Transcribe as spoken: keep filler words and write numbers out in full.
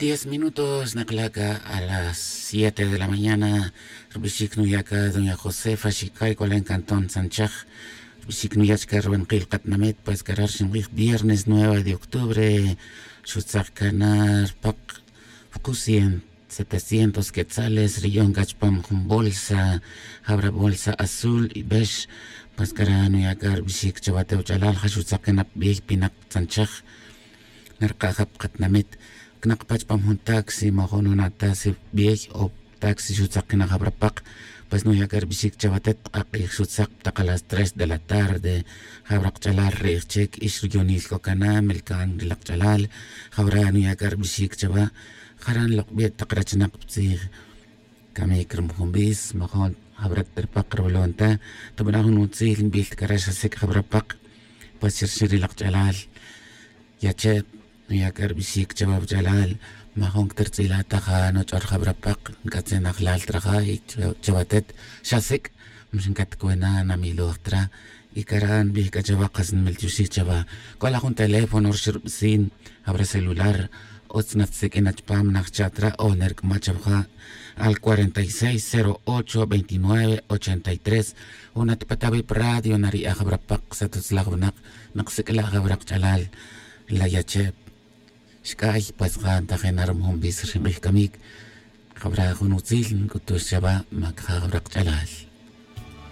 Diez minutos nakla' ca a las siete de la mañana. Rbixic nuya' ca doña josefa xicay c'olen cantón tzanchaj. Rbixic nuya' chca rubankil katinamit pues cara' rxinbij viernes nueve de octubre. Xutzak cana rpak, vcucien setecientos quetzales riyon c'a chupam jun bolsa. Jabra bolsa azul y bex. Pues cara' nuya' c'a rbixic chawa te wach'alal ja xutzak cana pbiy pinak tzanchaj. Narka' ja pa katinamit cnak pa chupam jun taxi ma jun jun ata si pbiy o taxi xutzak cana jabra pak. Pues nuya' c'a rbixic chawa te tk'ak'ij xutzak pa tak a las tres de la tarde. Jabra kach'alal rij chic ix ruyonil c'o cana melcan ri lak ch'alal. Jabra nuya' c'a rbixic chawa. Jaran lok bi tak rachnak pa tzij. Camic rum jun bis majun jabra ta ri pak rubalon ta. Tubana' jun utzil nbil ta cara' xa sic' jabra pak. Pues chi rxin ri lak ch'alal. Yache' nuya' c'a rbixic chawa wach'alal. Majun cta rtz'ila' ta ja nuch'or jabra pak nc'atzin ajlal ta raja y chawa tet xa sic'. Mix ncatcwena namiloj ta ra. Y cara' nbij c'a chawa qas nmiltioxij chawa. C'o la jun teléfono rxi rubicin jabra celular. Utz natsiq'uin na chupam najchat ra o nerc'ama' chawa ja al cuarenta y seis cero ocho veintinueve ochenta y tres. Jun at pa tawi' pa radio nari'a jabra pak satutz laj winak. Nak sic'la' jabra kach'alal. La yache' xc'ay pues ja ntajena rum jun bis rxinbij camic. Jabra jun utzil nc'utux chawa mac ja jabra kach'alal.